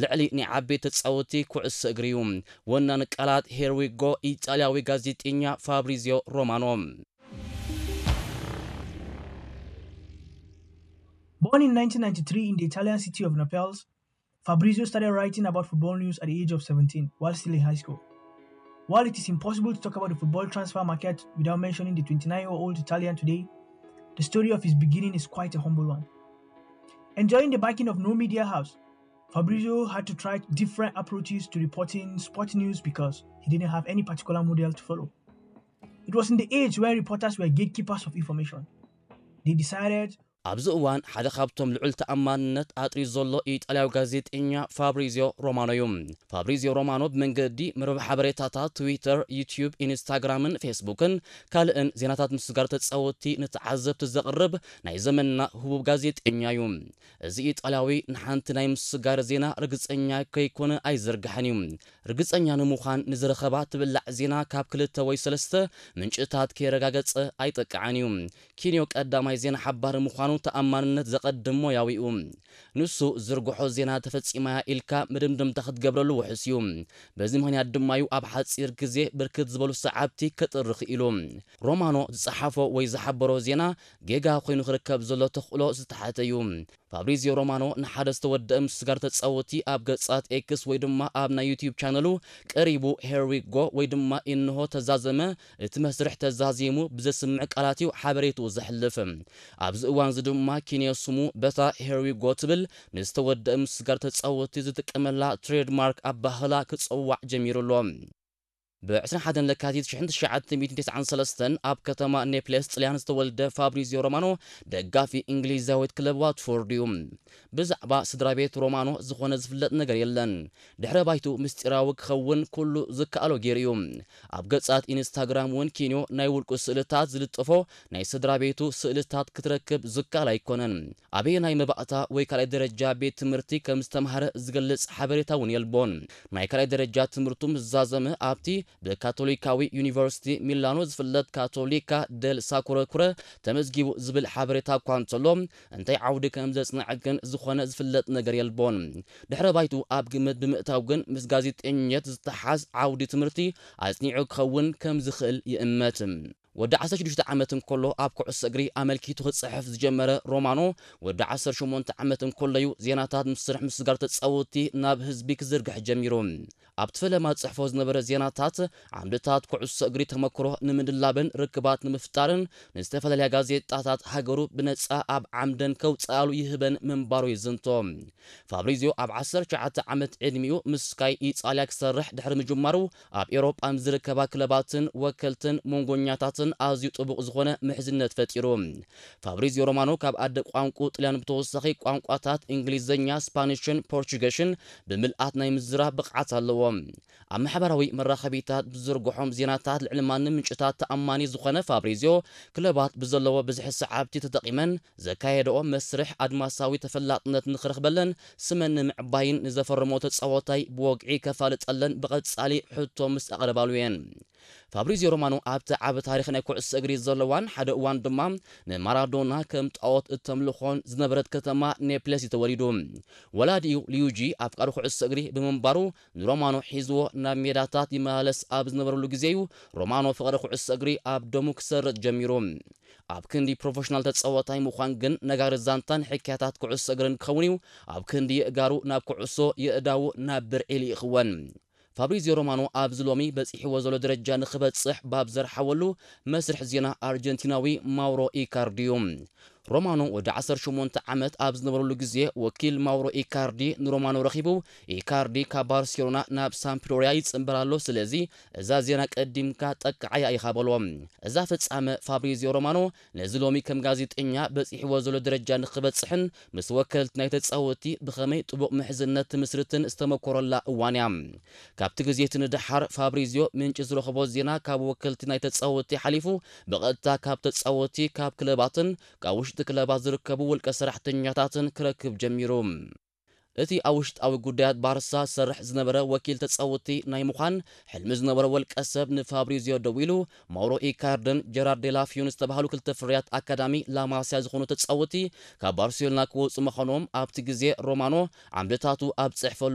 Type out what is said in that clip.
ልዕሊ ናይ ዓበይቲ ተጻወትቲ ኩዕሶ እግሪ እዩ። ወናኒ ቃላት ሄር ዊ ጎ፣ ኢጣልያዊ ጋዜጠኛ ፋብሪዚዮ ሮማኖ። Born in nineteen ninety-three in the Italian city of Naples, Fabrizio started writing about football news at the age of seventeen while still in high school. While it is impossible to talk about the football transfer market without mentioning the twenty-nine-year-old Italian today, the story of his beginning is quite a humble one. Enjoying the backing of no media house, Fabrizio had to try different approaches to reporting sport news because he didn't have any particular model to follow. It was in the age where reporters were gatekeepers of information. They decided ኣብዚ እዋን ሓደ ካብቶም ልዑል ተኣማንነት ኣጥርዩ ዘሎ ኢጣልያዊ ጋዜጠኛ ፋብሪዚዮ ሮማኖ እዩ። ፋብሪዚዮ ሮማኖ ብመንገዲ መርበብ ሓበሬታታት ትዊተር፣ ዩትዩብ፣ ኢንስታግራምን ፌስቡክን ካልእን ዜናታት ምስጋር ተጻወትቲ ንተዓዘብቲ ዘቕርብ ናይ ዘመንና ህቡብ ጋዜጠኛ እዩ። እዚ ኢጣልያዊ ንሓንቲ ናይ ምስጋር ዜና ርግጸኛ ከይኮነ ኣይዝርግሕን እዩ። ርግጸኛ ንምዃን ንዝረኸባ ትብላዕ ዜና ካብ ክልተ ወይ ሰለስተ ምንጭታት ከየረጋገጸ ኣይጠቅዓን እዩ። ኪንዮ ቀዳማይ ዜና ሓባሪ ምዃኑ ተኣማንነት ዘቐድም ሞያዊ እዩ። ንሱ ዝርግሖ ዜና ተፈጺማያ ኢልካ መደምደምታ ክትገብረሉ ውሑስ እዩ። በዚ ምኽንያት ድማ እዩ ኣብ ሓጺር ግዜ ብርክት ዝበሉ ሰዓብቲ ከጥሪ ክኢሉ። ሮማኖ ዝጸሓፎ ወይ ዝሓበሮ ዜና ጌጋ ኮይኑ ክርከብ ዘሎ ተኽእሎ ዝተሓተ እዩ። ፋብሪዚዮ ሮማኖ ንሓደ ዝተወደአ ምስጋር ተጻወቲ ኣብ ገጻት ኤክስ ወይ ድማ ኣብ ናይ ዩትዩብ ቻነሉ ቀሪቡ ሄር ዊ ጎ ወይ ድማ እንሆ ተዛዘመ፣ እቲ መስርሕ ተዛዚሙ ብዘስምዕ ቃላት እዩ ሓበሬትኡ ዘሕልፍ። ኣብዚ እዋን እዚ ድማ ኪንዮ ስሙ በታ ሄር ዊ ጎ ትብል ንዝተወደአ ምስጋር ተጻወቲ ዝጥቀመላ ትሬድማርክ ኣባህላ ክጸዋዕ ጀሚሩ ኣሎ። ብ ዕስራን ሓደን ለካቲት ሽሕን ትሽዓተ ሚእትን ተስዓን ሰለስተን ኣብ ከተማ ኔፕልስ ጥልያን ዝተወልደ ፋብሪዚዮ ሮማኖ ደጋፊ እንግሊዛዊት ክለብ ዋትፎርድ እዩ። ብዛዕባ ስድራ ቤት ሮማኖ ዝኾነ ዝፍለጥ ነገር የለን። ድሕረ ባይቱ ምስጢራዊ ክኸውን ኩሉ ዝከኣሎ ገይሩ እዩ። ኣብ ገጻት ኢንስታግራም እውን ኪንዮ ናይ ውልቁ ስእልታት ዝልጥፎ ናይ ስድራ ቤቱ ስእልታት ክትረክብ ዝከኣል ኣይኮነን። ኣበየናይ መባእታ ወይ ካልኣይ ደረጃ ቤት ትምህርቲ ከም ዝተምሃረ ዝገልጽ ሓበሬታ እውን የልቦን። ናይ ካልኣይ ደረጃ ትምህርቱ ምስ ዛዘመ ኣብቲ ብካቶሊካዊ ዩኒቨርሲቲ ሚላኖ ዝፍለጥ ካቶሊካ ደል ሳኩረ ኩረ ተመዝጊቡ ዝብል ሓበሬታ እኳ እንተሎ፣ እንታይ ዓውዲ ከም ዘጽንዐ ግን ዝኾነ ዝፍለጥ ነገር የልቦን። ድሕረ ባይቱ ኣብ ግምት ብምእታው ግን ምስ ጋዜጠኝነት ዝተሓዝ ዓውዲ ትምህርቲ ኣጽኒዑ ክኸውን ከም ዝኽእል ይእመት። ወዲ ዓሰርተ ሽዱሽተ ዓመት እንከሎ ኣብ ኩዕሶ እግሪ ኣመልኪቱ ክጽሕፍ ዝጀመረ ሮማኖ፣ ወዲ ዓሰርተ ሸሞንተ ዓመት እንከሎ እዩ ዜናታት ምስርሕ ምስጋር ተጻወቲ ናብ ህዝቢ ክዝርግሕ ጀሚሩ። ኣብቲ ፈለማ ዝጽሕፎ ዝነበረ ዜናታት ዓምድታት ኩዕሶ እግሪ ተመክሮ ንምድላብን ርክባት ንምፍጣርን ንዝተፈላለያ ጋዜጣታት ሃገሩ ብነጻ ኣብ ዓምደን ከውጽኣሉ ይህበን ምንባሩ ይዝንቶ። ፋብሪዚዮ ኣብ ዓሰርተ ትሽዓተ ዓመት ዕድሚኡ ምስ ስካይ ኢጣልያ ክሰርሕ ድሕሪ ምጅማሩ ኣብ ኤውሮጳ ምስ ዝርከባ ክለባትን ወከልትን መንጎኛታትን ኣዝዩ ጥቡቕ ዝኾነ ምሕዝነት ፈጢሩ። ፋብሪዚዮ ሮማኖ ካብ ኣደ ቋንቁ ጥልያን ብተወሳኺ ቋንቋታት እንግሊዝኛ፣ ስፓኒሽን ፖርቹገሽን ብምልኣት ናይ ምዝራብ ብቕዓት ኣለዎ። ኣብ ማሕበራዊ መራኸቢታት ብዝዝርግሖም ዜናታት ልዕሊ ማንም ምንጭታት ተኣማኒ ዝኾነ ፋብሪዚዮ ክለባት ብዘለዎ ብዝሒ ሰዓብቲ ተጠቒመን ዘካየደኦ መስርሕ ኣድማሳዊ ተፈላጥነት ንኽረኽበለን ስመን ንምዕባይን ንዘፈረሞ ተጻወታይ ብወግዒ ከፋልጠለን ብቐጻሊ ሕቶ ምስ ኣቕረባሉ እየን። ፋብሪዚዮ ሮማኖ ኣብቲ ዓቢ ታሪኽ ናይ ኩዕሶ እግሪ ዘለዋን ሓደ እዋን ድማ ንማራዶና ከም ጣዖት እተምልኾን ዝነበረት ከተማ ኔፕለስ እዩ ተወሊዱ። ወላዲኡ ሊዩጂ ኣፍቃሪ ኩዕሶ እግሪ ብምንባሩ ንሮማኖ ሒዝዎ ናብ ሜዳታት ይመላለስ ኣብ ዝነበረሉ ግዜ እዩ ሮማኖ ፍቕሪ ኩዕሶ እግሪ ኣብ ደሙ ክሰርጽ ጀሚሩ። ኣብ ክንዲ ፕሮፌሽናል ተጻዋታይ ምዃን ግን ነጋሪ ዛንታን ሕክያታት ኩዕሶ እግርን ክኸውን እዩ። ኣብ ክንዲ የእጋሩ ናብ ኩዕሶ የእዳዉ ናብ ብርዒ ልኢኽወን። ፋብሪዚዮ ሮማኖ ኣብዚ ሎሚ በጺሕዎ ዘሎ ደረጃ ንኽበጽሕ ባብ ዘርሓወሉ መስርሕ ዜና ኣርጀንቲናዊ ማውሮ ኢካርዲ እዩ። ሮማኖ ወዲ ዓሰርተ ሸሞንተ ዓመት ኣብ ዝነበረሉ ግዜ ወኪል ማውሮ ኢካርዲ ንሮማኖ ረኺቡ፣ ኢካርዲ ካብ ባርሴሎና ናብ ሳምፕዶሪያ ይጽንበር ኣሎ፣ ስለዚ እዛ ዜና ቀዲምካ ጠቅዓያ ኢኻ በሎ። እዛ ፍጻመ ፋብሪዚዮ ሮማኖ ነዚ ሎሚ ከም ጋዜጠኛ በጺሕዎ ዘሎ ደረጃ ንኽበጽሕን ምስ ወከልቲ ናይ ተጻወቲ ብኸመይ ጥቡቕ ምሕዝነት ትምስርትን ዝተመኮረላ እዋን እያ። ካብቲ ግዜ እቲ ንደሓር ፋብሪዚዮ ምንጪ ዝረኸቦ ዜና ካብ ወከልቲ ናይ ተጻወቲ ሓሊፉ ብቐጥታ ካብ ተጻወቲ፣ ካብ ክለባትን ካብ ውሽጢ ክለባት ዝርከቡ ውልቀ ሰራሕተኛታትን ክረክብ ጀሚሩ። እቲ ኣብ ውሽጣዊ ጉዳያት ባርሳ ዝሰርሕ ዝነበረ ወኪል ተጻወቲ ናይ ምዃን ሕልሚ ዝነበረ ወልቀ ሰብ ንፋብሪዚዮ ደዊሉ፣ ማውሮ ኢካርድን ጀራርድ ዴላፊዮን ዝተባህሉ ክልተ ፍርያት ኣካዳሚ ላማሲያ ዝኾኑ ተጻወቲ ካብ ባርሴሎና ክወጹ ምዃኖም ኣብቲ ግዜ ሮማኖ ዓምድታቱ ኣብ ጽሕፈሉ